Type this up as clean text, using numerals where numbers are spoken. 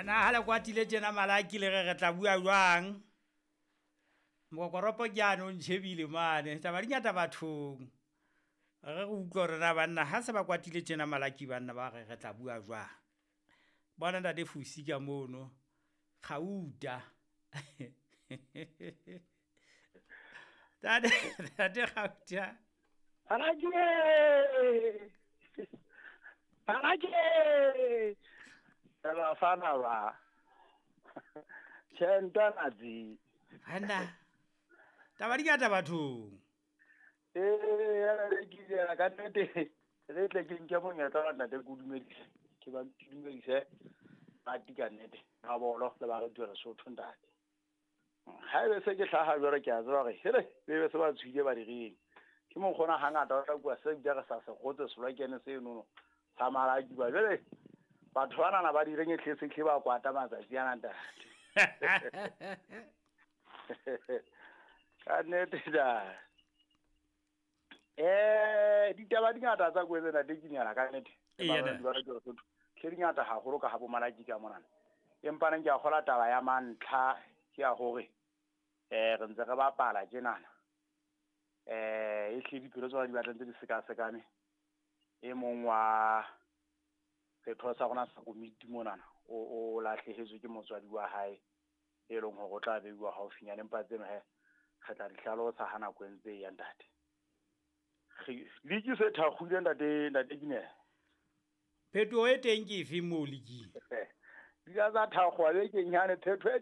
Na ha le kwatile tjena Malaki le re re tla bua jwang? Mokokoropo ke ane o ntjhebile mane. Taba di ngata bathong. Re re utlwe hore na banna ha se ba kwatile tjena Malaki banna ba re re tla bua jwang. Bona ntate Fusi ka mono. Gauta. Tate tate Gauta. Malaki! Malaki! Bafana ba. Tjhe ntwana tse. Banna. Taba di ngata bathong. Ee, ke ile ka nnete re tle ke nke monyetla wa ntate ke o dumedise. Ke ba ke dumedise rati ka nnete. Mabolo le barati ba Lesotho ntate. Ha ebe se ke hlaha jwale ke a tseba hore hele be be se ba tshwile ba direng. Ke mokgona hangata o tla bua se bile re sa se kgotse selokene senono sa Malaki ba jwale batho banana ba direng e hle se hle ba kwata matsatsi ana ntate. Ka nnete da. Ditaba di ngata tsa kwetse ntate Kinyana ka nnete. Eya, ntate. Ba rata Lesotho. Hle di ngata haholo ka ha bo Malaki ka monana. Empa neng ke a kgola taba ya mantlha ke ya hore re ntse re bapala tjenana. E hle dipelo tsona di batla ntse di sekasekane. E mong wa setho sa rona sa komiti monana o lahlehetswe ke motswadi wa hae e leng hore o tla beiwa haufinyane, empa tseno he re tla di hlalosa ha nako e ntse e ya ntate. Liki se thakgile ntate ntate Kinela. Phetoho e teng ke efe moo liking? Di ka tsa thakgowa bekeng yane, phetho e